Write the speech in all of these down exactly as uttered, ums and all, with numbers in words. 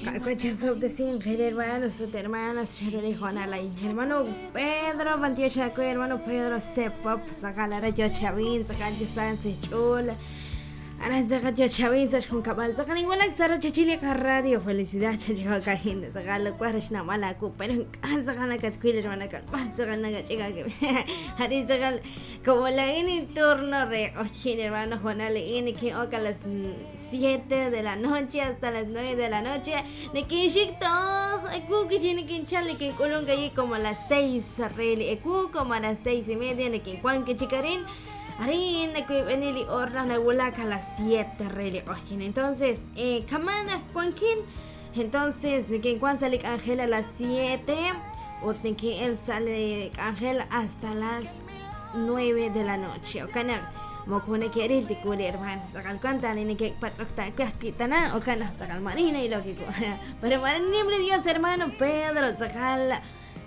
Hermanos, hermanas, hermano Pedro, hermano Pedro Sepop, Chavin, Radio Felicidad, como la en turno re hermano Juan Ale que a las siete de la noche hasta las nueve de la noche como a las seis como a las seis y media a las siete. Entonces, eh, Kamana Juanquín. Entonces, Niquencuan sale Ángel a las siete. O él sale Ángel hasta las nueve de la noche. Okana, mokone quiere te hermano. Sacal cuanta ni que patzocta quitana o cana sacal marina y lógico. Pero marina Dios hermano Pedro, sacal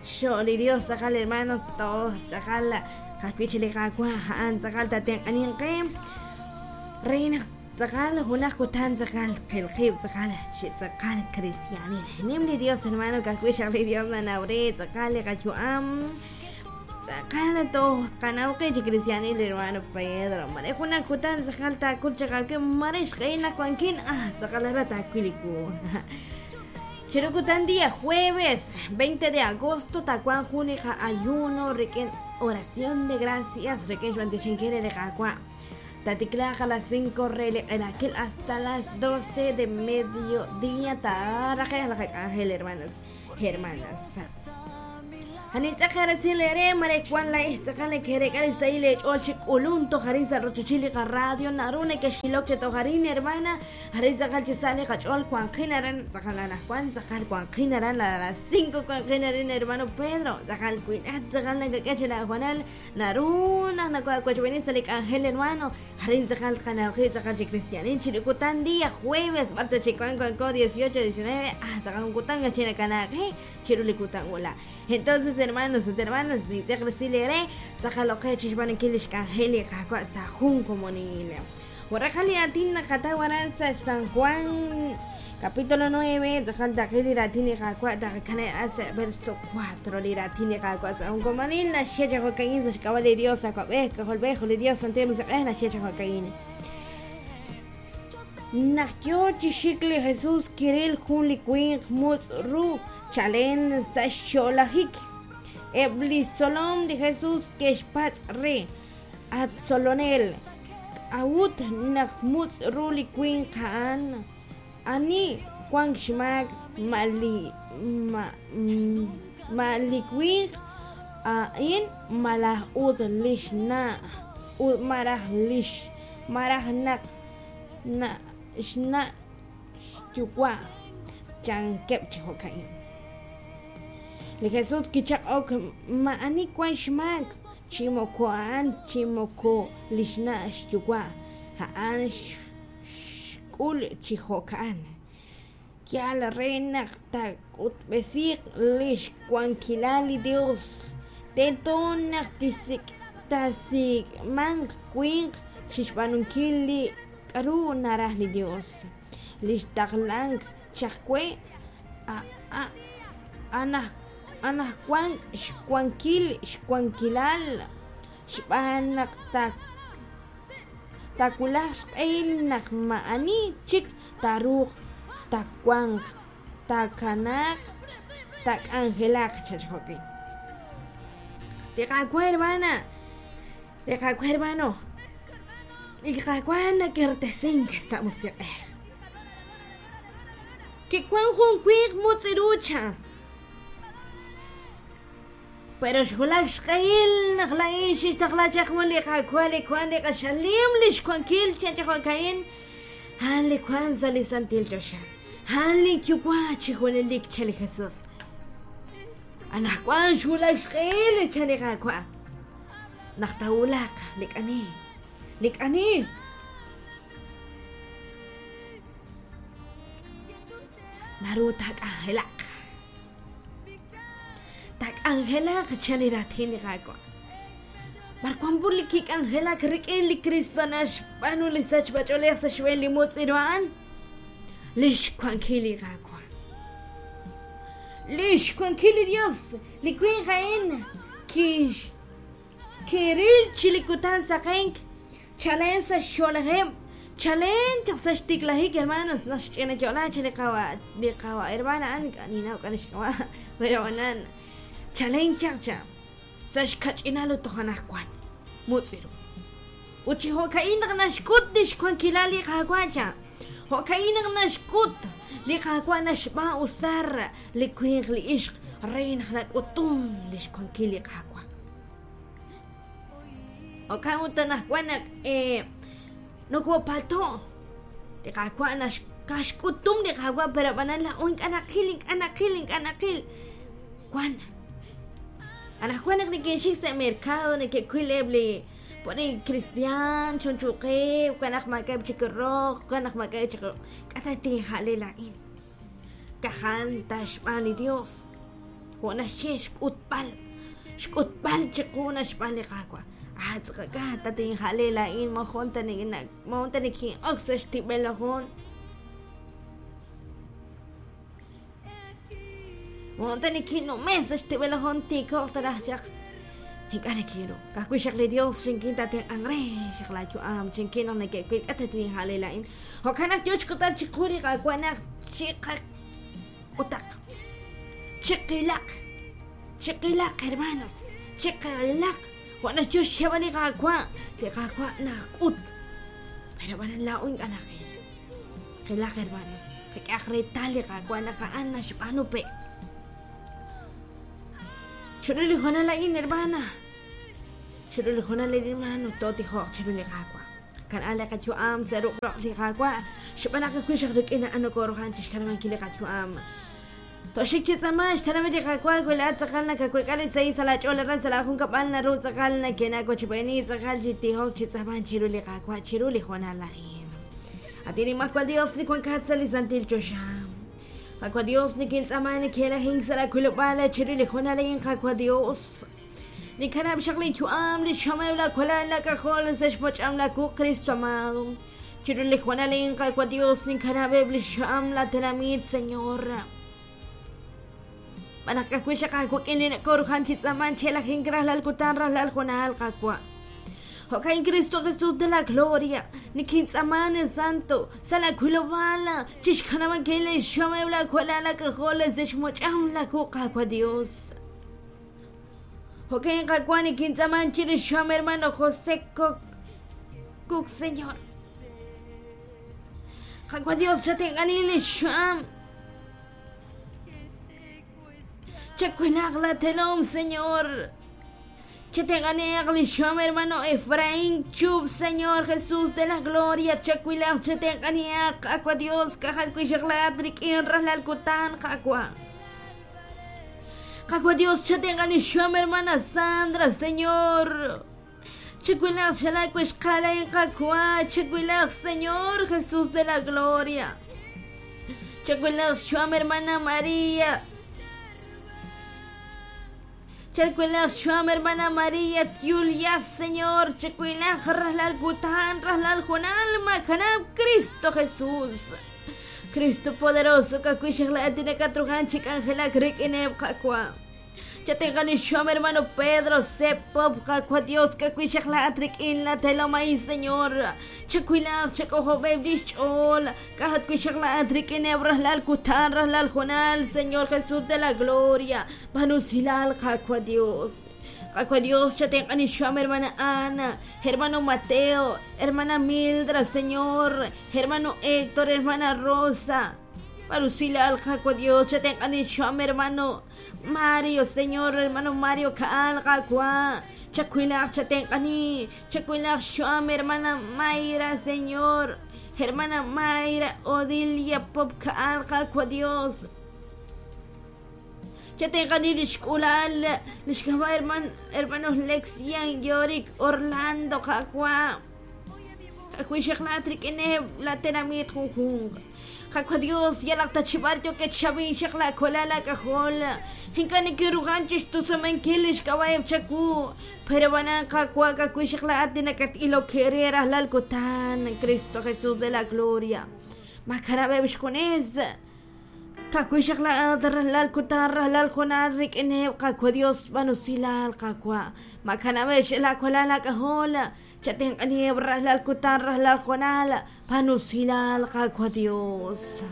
Sholi Dios, sacal hermano todos, sacal Reina Dios hermano Dios hermano Pedro Chirukutan día jueves veinte de agosto, Tacuán Junica ayuno, requen oración de gracias, requen de Jacua. Taticlaja a las cinco rele en aquel hasta las doce de mediodía, ángel hermanos, hermanas. Radio narune que shiloche tojarín hermana a las cinco hermano Pedro naruna ángel hermano día jueves parte dieciocho diecinueve entonces hermanos, hermanas, ni te recilere, saca chishban kilish cangeli, sajun como ni le. Atina Catawaranza, San Juan, capítulo nueve, verso cuatro, Liratini Cacuaza, un comanil, la Shecha Jocaín, Sashkabal Dios, Acuabeca, Jolbejo, Dios, Santemos, la Shecha Jocaín. Nakyo Chishikli Jesús, Kiril, Juli, Queen, Mutz, Ru. Chalen Sasholahik Ebli Solom de Jesús Keshpatz Re Atzolonel Awut Nachmutz Ruli Queen Kaan Ani Kwang Shmak Mali Ma Mali Queen Ain Malah Ud Lishna Ud Marah Lish Marah Nak Na Shna Shtukwa Chankep Chokain Le Jesús kichak ok maani kwan shmak chimoko an chimoko lishna shtukwa haan shkul chihokan kial reina takutbesik lish kwankilali Dios tetonak tisik tasik mang kwink chishpanunkili karu narahli Dios lish taklang chakwe a a anah Anah Juan Xcuanquil Xcuanquilal Xbanak tak Takulax el nak maani chik taruk takuang takanak tak angelak chachjoki. Liqakua hermana, liqakua hermano, liqakua nakertesin que estamos que cuan junkuik mutzirucha. Pero xulak xqayil naqlain xixtaqlachaqmun liqakua likuan liqaxalim lixkuankil chachaqokain han likuan salisantil chosha han likyukua chijuelelik chali Jesús anajkuan xulak xqayil chaliqakua naqtawulaq likani likani narutak angelaq Angela chaliratini gakwa. Marcuan burlikik Angela krikili Cristo nash panu lisach bacholesa shweli mutziruan. Lish kwankili gakwa. Lix wankil li Dios, li winq a'in kix kiril chi li kutan saqenk chalen sa xxolajeb' chalen chaq sa xtiklajik hermanos naxch'ina yo'la chi li qawa li qawa hermana a'an ninaw k'a lixk'ab'a' pero anan chalen chaq cha sa xkach'inal ut toj anaqwan mutz'iru ut chi jo'ka'in naq naxk'ut lix wankilal li Qaawa' cha jo'ka'in naq naxk'ut li Qaawa' naxb'aan usar li winq li ixq re naq nak'utum lix wankil li Qaawa' jo'kan ut anaqwan naq eh nokopalto' li Qaawa' naxk'utum li Qaawa' pero ab'anan la'o ink'a' naqil ink'a' naqil ink'a' naqil wan anaqwan naq neke'xik sa' mercado neke'wil eb' li pone cristian chunchuqeb' wan naq maak'a'eb' chik roq wan naq maak'a'eb' chik roq k'a' ta tinja'le laa'in kajan ta xb'aan li Dios jo' naxye xk'utb'al xk'utb'al chiqu naxb'aan li Qaawa' ah tz'aqak'a ta tinja'le laa'in mojon ta mojon ta nikin'ok sa' xtib'el jun mojon ta nikinnume sa' xtib'el jun tikoq ta raj chaq ink'a' nakiru ka'ajwi' xaq li Dios xinkin tatenq'anq re xaq laayu'am chinkin naq neke'wil k'a' ta tinja'le laa'in jo'kan naq yo xk'utb'al chiqu li Qaawa' naq chiqak'utaq chiqilaq chiqilaq hermanos chiqilaq jo' naxyo xyeb'al li Qaawa' li Qaawa' naqk'ut pero ab'anan laa'o ink'a' naqil qilaq hermanos qak'ehaq reetal li Qaawa' naq a'an naxb'aanu pe' chiru li hoonal a'in hermana chiru li hoonal a'in hermano tootijoq chiru li Qaawa' kan'a li qayu'am sa' ruq' roq li Qaawa' xb'aan naq ajwi' xaq rik'in a'an nokooruhan chixkanab'ankil li qayu'am toxik chi tz'amaan xtanamit li Qaawa' wi laa'at tz'aqal nakaweek'a li sahil sa' laach'ool aran sa' laajunkab'al naru tz'aqal nakenakochb'eeni tz'aqal chi tijok chi tz'amaan chiru li Qaawa' chiru li hoonal a'in at inimajwal Dios li wankat sa' li santil choxa Qaawa' Dios nikintz'amaan neke'rajink sa' laak'ulub'aal chiru li hoonal a'in Qaawa' Dios nikanab' xaq li yu'am li xameb' laawalal laak'ajol sa' xpoch'am laakuq Cristo amado chiru li hoonal a'in Qaawa' Dios nikanab'eb' li xyu'am laatenamit Señor b'an naq ka'ajwi' xaq aawik'in li nakorujan chi tz'amaan chelajink rajlal kutan rajlal hoonal Qaawa' jo'kan Cristo Jesús de la gloria nikintz'amaan santo sa' laak'ulub'aal chixkanab'ankil li xyu'ameb' laawalal laak'ajol sa' xmoch'am laakuq Qaawa' Dios jo'kan Qaawa' nikintz'amaan chiru xyu'am hermano José Cook Señor Qaawa' Dios xatenq'ani li xyu'am chakuilaq la telom Señor chatenq'aniaq li xyu'am hermano Efraín Chub Señor Jesús de la gloria chakuilaq chatenq'aniaq Qaawa' Dios kajal wi' xaq laat rik'in rajlal kutan Qaawa' Qaawa' Dios chatenq'ani xyu'am hermana Sandra Señor chakuilaq xalak wi' xqalain Qaawa' chakuilaq Señor Jesús de la gloria chakuilaq xyu'am hermana María Chakuilaq xyu'am hermana María Julia Señor chakuilaq rajlal kutan rajlal hoonal makanab' Cristo Jesús Cristo poderoso ka'ajwi' xaq laat nakatrujan chik'anjelak rik'ineb' Qaawa' chatenq'ani xyu'am hermano Pedro Sepop Qaawa' Dios ka'ajwi' xaq laat rik'in la telom a'in Señor chakuilaq chak'ojob'eb' li xch'ool k'ajat wi' xaq laat rik'ineb' rajlal kutan rajlal hoonal Señor Jesús de la gloria panusilal Qaawa' Dios Qaawa' Dios chatenq'ani xyu'am hermana Ana hermano Mateo hermana Mildra Señor hermano Héctor hermana Rosa parusilal Qaawa' Dios chatenq'ani xyu'am hermano Mario Señor hermano Mario Kaal Qaawa' chakuilaq chatenq'ani chakuilaq xyu'am hermana Mayra Señor hermana Mayra Odilia Pop Kaal Qaawa' Dios chatenq'ani lixk'ulal lixk'ab'a' herman hermanos Lexian Yorick Orlando Qaawa' ka'ajwi' xaq laat rik'ineb' la tenamit junjunq Qaawa' Dios yalaq tachib'al yookeb' xaq laawalal laak'ajol ink'a' nikirujan chixtusamankil lixk'ab'a'eb' chawu pero b'anan Qaawa' ka'ajwi' xaq laat li nakat'ilok re rajlal kutan Cristo Jesús de la gloria makanab'eb' xjunes Ka'ajwi' la'at rajlal kutan rajlal jonal rik'ineb' Qaawa' Dios b'anusilal Qaawa' makanab'eb' laakwalal laak'ajol chatenq'aniheb' rajlal kutan rajlal jonal b'anusilal Qaawa' Dios.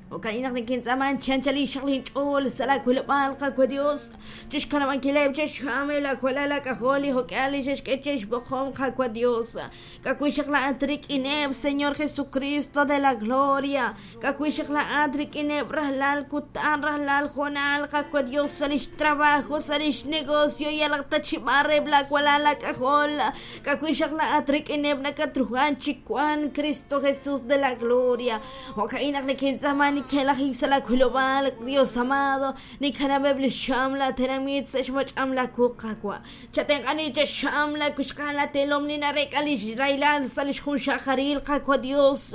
Jo'kan naq nikintz'aaman chi anchal inxaq linch'ool sa' laawilob'aal Qaawa' Dios chixkanab'ankileb' chixjameb' laakwalal laak'ajol li jo'k'ihal li xe'xk'e chixb'oqom Qaawa' Dios. Ka'ajwi' xaq la'at rik'ineb' Señor Jesucristo de la gloria. Ka'ajwi' xaq la'at rik'ineb' rajlal kutan rajlal jonal Qaawa' Dios sa' lix trabajo sa' lix negocio yalaq ta chi b'areb' laakwalal laak'ajol. Ka'ajwi' xaq la'at rik'ineb' nakatruhan chi wan Cristo Jesús de la gloria. Jo'kan naq nikintz'aaman nikelajik sa' laawilob'aal Dios amado nikanab'eb' li xam la tenamit sa' xmoch'am laawu Qaawa' chatenq'ani chexam laakuxqal latelom li narek'a lix raylal sa' lix junxaqaril Qaawa' Dios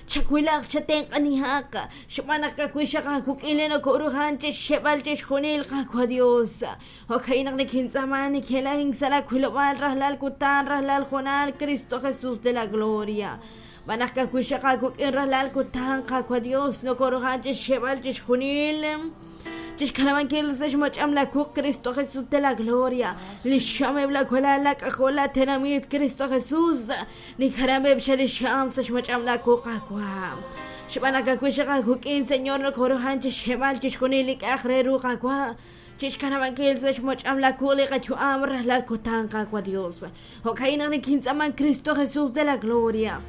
chawilaq chatenq'anihaq xb'aan naq ka'ajwi' xaq aakuk'il noko'ruhan chixxeb'al chixjunil Qaawa' Dios. Jo'kan naq nikintz'aaman nikelajik sa' laawilob'aal rajlal kutan rajlal jonal Cristo Jesús de la gloria. B'anaq ka'ajwi' xaq aakuk'in rajlal kutan Qaawa' Dios noko'ruhan chixxeb'al chixjunil chixkanab'ankil sa' xmoch'am laawu Cristo Jesús de la gloria. Li xameb' laakwalal laak'ajol laatenamit Cristo Jesús nikanab'eb' xa li xam sa' xmoch'am laawu Qaawa' xb'aan naq ka'ajwi' xaq aakuk'in Señor noko'ruhan chixxeb'al chixjunil li k'a'aq re ru Qaawa' chixkanab'ankil sa' xmoch'am laawu li qayu'am rajlal kutan Qaawa' Dios. Jo'kan naq nikintz'aaman Cristo Jesús de la gloria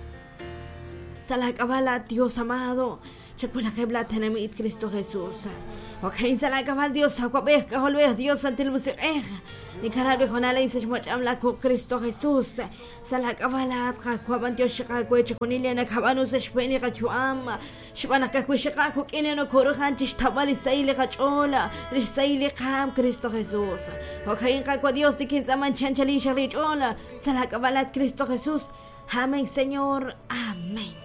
sa' laak'ab'al Dios amado chawilaqeb' laatenamit Cristo Jesús. Jo'kan sa' laak'ab'al Dios awab'ej k'ajolb'ej Dios santil musiq'ej nikanab' li jonal sa' xmoch'am laawu Cristo Jesús sa' laak'ab'al laat Qaawa' b'antiox xaqaawe chixjunil li nakab'anu sa' xb'een li qayu'am xb'aan naq ka'ajwi' xaq aakuk'in li noko'ruhan chixtawb'al li xsahil li qach'ool li xsahil li qaam Cristo Jesús. Jo'kan Qaawa' Dios nikintz'aaman chi anchal inxaq lich'ool sa' laak'ab'al laat Cristo Jesús. Amén, Señor. Amén.